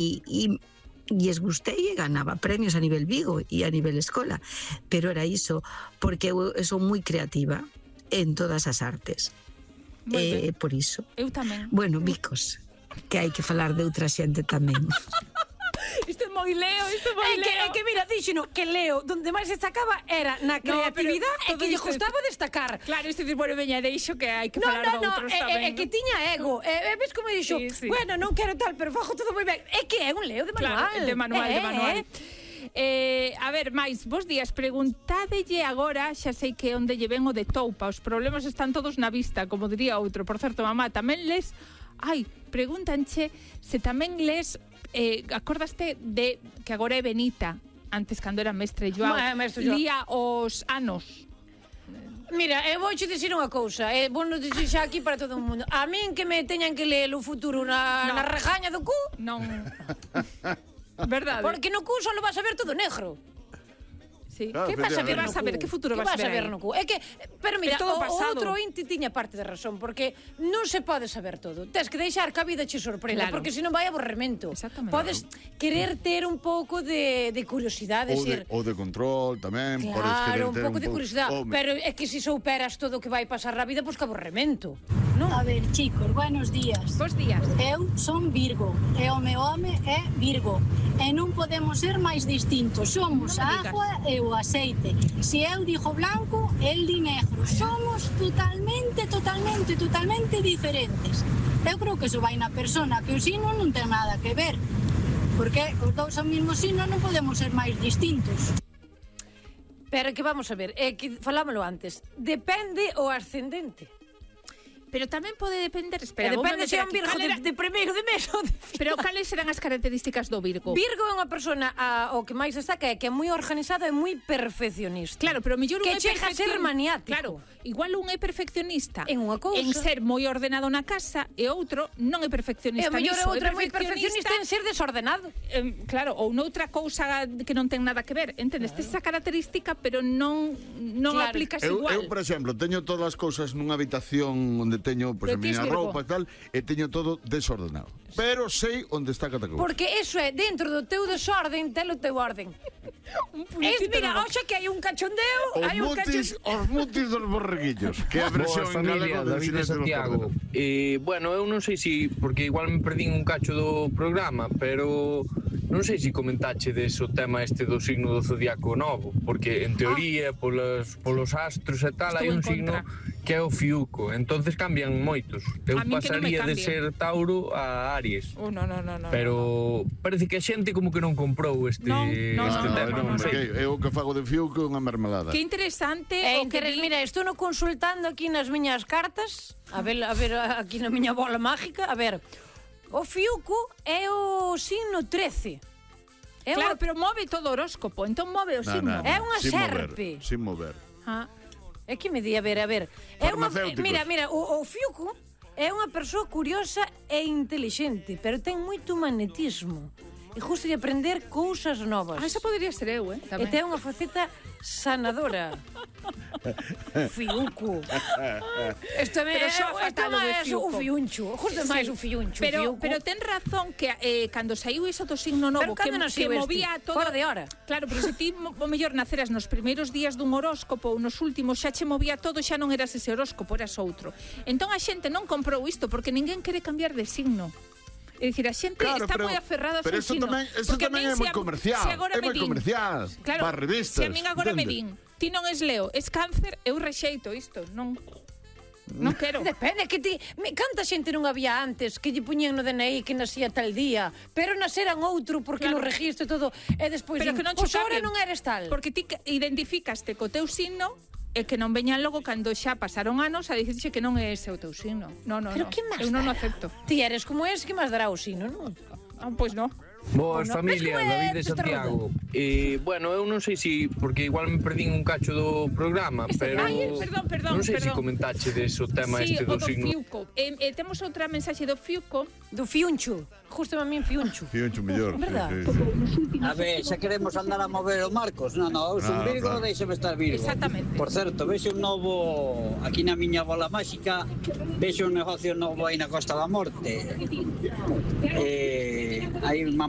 es gustei e ganaba premios a nivel Vigo e a nivel escola, pero era iso, porque eu son moi creativa en todas as artes. Por iso. Eu tamén. Bueno, bicos, que hai que falar de outra xente tamén. Isto é moi Leo, É que mira, díxeno que Leo, donde máis destacaba era na creatividade e que lle gustaba destacar. Claro, isto é bueno, veña, deixo que hai que falar de outros tamén. É que tiña ego. Ves como dixo, bueno, non quero tal, pero fajo todo moi ben. É que é un Leo de manual. Claro, de manual. A ver, máis, bos días, preguntádelle agora, xa sei que onde lle ven o de Toupa, os problemas están todos na vista, como diría outro. Por certo, mamá, tamén les... pregúntanche se tamén les... acordaste de que agora é Benita, antes cando era mestre Joao, lía os anos. Mira, eu vouche dicir unha cousa, vou nos dicir xa aquí para todo o mundo. A min que me teñan que ler o futuro na regaña do cu? Non. Verdade. Porque no cu só vas a ver todo negro. Sí. Que vas a ver? Que futuro vas a ver no cu? É que, pero mira, o outro inti tiña parte de razón, porque non se pode saber todo. Tes que deixar que a vida che sorprenda, porque senón vai aborremento. Podes querer ter un pouco de curiosidade, ou de control tamén. Claro, un pouco de curiosidade, pero é que se souperas todo o que vai pasar na vida, pois que aborremento. A ver, chicos, buenos días. Bos días. Eu son Virgo, e o meu home é Virgo, e non podemos ser máis distintos. Somos a agua e o aceite. Se eu digo blanco, el di negro. Somos totalmente diferentes. Eu creo que iso vai na persona, que o signo non ten nada que ver, porque os dous ao mesmo signo non podemos ser máis distintos. Pero que vamos a ver, que falámoslo antes, depende o ascendente. Pero tamén pode depender, espera, depende se é un Virgo de primeiro de mes ou de final. Pero cales serán as características do Virgo? Virgo é unha persona o que máis destaca é que é moi organizada e moi perfeccionista. Claro, pero mellor un que chega a ser maniático. Claro, igual un é perfeccionista en unha cousa, en ser moi ordenado na casa, e outro non é perfeccionista. E mellor outro é moi perfeccionista en ser desordenado. Claro, ou noutra cousa que non ten nada que ver, entendes? Tes esa característica, pero non aplicas igual. Eu, por exemplo, teño todas as cousas nunha habitación onde teño a miña roupa e tal, e teño todo desordenado. Pero sei onde está cada cousa. Porque eso é, dentro do teu desorden, ten o teu orden. Mira, oxa que hai un cachondeo, os mutis dos borreguillos, que é a versión en galego de David de Santiago. Bueno, eu non sei se, porque igual me perdín un cacho do programa, pero non sei se comentache o tema este do signo do zodiaco novo, porque en teoría, polos astros e tal, hai un signo que é o fiuco, entonces cambian moitos. Eu pasaría de ser Tauro a Aries. No. Pero parece que a xente como que non comprou este tema. Eu que fago de fiuco é unha mermelada. Que interesante. Mira, estou no consultando aquí nas miñas cartas, a ver aquí na miña bola mágica, a ver, o fiuco é o signo 13. Claro, pero move todo o horóscopo, entón move o signo. É unha serpe. Sin mover. É que me di, a ver. Mira, o fiuco é unha persoa curiosa e intelixente, pero ten moito magnetismo. E gusta de aprender cousas novas. Esa podería ser eu, E ten unha faceta sanadora. Fiuco. Isto é o fiuncho. Justo máis o fiuncho. Pero ten razón que cando saiu iso do signo novo, que movía todo fora de hora. Claro, pero se ti o mellor naceras nos primeiros días dun horóscopo ou nos últimos xa che movía todo, xa non eras ese horóscopo, eras outro. Entón a xente non comprou isto porque ninguén quere cambiar de signo. É dicir, a xente está moi aferrada ao seu signo. Pero isto tamén é moi comercial. É moi comercial. Claro, para revistas. Se a min agora me din, ti non es Leo, es Cáncer, eu rexeito isto, non quero. Depende, que ti... Canta xente non había antes que lle puñían no DNI que nacía tal día, pero naceran outro porque no registro todo, e despois din, pois ahora non eres tal. Porque ti identificaste co teu signo e que non veñan logo cando xa pasaron anos a dicirxe que non é ese o teu signo. Pero que máis eu non o acepto. Ti eres como ese, que máis dará o signo, non? Pois non. Boas, familia, David de Santiago. Bueno, eu non sei se, porque igual me perdín un cacho do programa, pero non sei se comentache o tema este do signo. Sí, o do fiuco. Temos outra mensaxe do fiuco. Do fiuncho. Justo a min fiuncho. Fiuncho mellor. A ver, xa queremos andar a mover o Marcos. Non, eu son Virgo, deixame estar Virgo. Exactamente. Por certo, vexo un novo, aquí na miña bola máxica, vexo un negocio novo aí na Costa da Morte. Hai unha